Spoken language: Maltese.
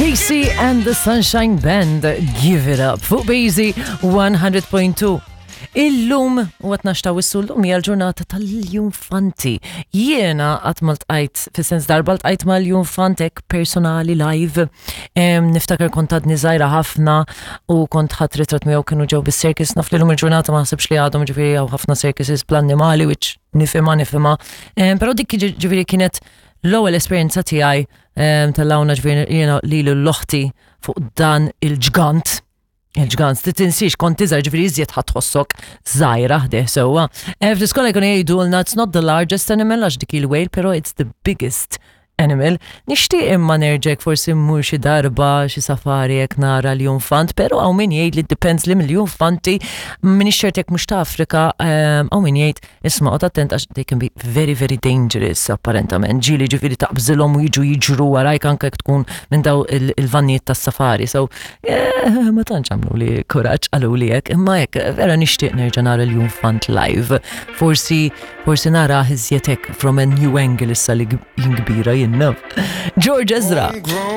KC and the Sunshine Band, Give It Up, fuq Bazy 100.2. Illum, u għatna xta' wissu l-lum hija l-ġurnata tal-Junfanti. Jiena qatt ma ltqajt, fis-sens darba ltqajt mal-Junfantek personali live. Niftakar kont għadni żgħira ħafna u kont ħadd ritratt miegħu kienu ġew bis-circus, naf li l-lum il-ġurnata ma naħsibx li għadhom ġifieri hawn ħafna circuses bl-annimali, which nifhimha nifhimha. Però dik ġifieri kienet l-ewwel esperjenza tiegħi tal-lawna ġifieri jiena lilu l-oħti fuq dan il-ġgant. Il-ġgant, ti tinsiex kont iżgħar ġifieri iżjed ħadd tħossok żgħira ħdejh sewwa. Fl-iskola jkunu jgħidulna it's not the largest animal għax dik il-whale, però it's the biggest animal. Nixtieq imma nerġek forsi mmur xi darba xi safari jekk nara l-junfant, però hawn min jgħid li depends li mill-junfanti m'iniex ċert jekk mhux ta' Afrika, hawn min jgħid isma' qgħod attent għax they can be very very dangerous apparentament. Ġieli ġifieri taqbżilhom u jiġu jiġru warajk anke jekk tkun minn daw il-vannijiet tas-safari. So, ma tantx għamlu li kuraġġ qalu li hekk, imma hekk vera nixtieq nerġa' nara l-Junfant live. Forsi forsi nara iżjed hekk from a new angle issa li jien kbira jien naf. George Ezra.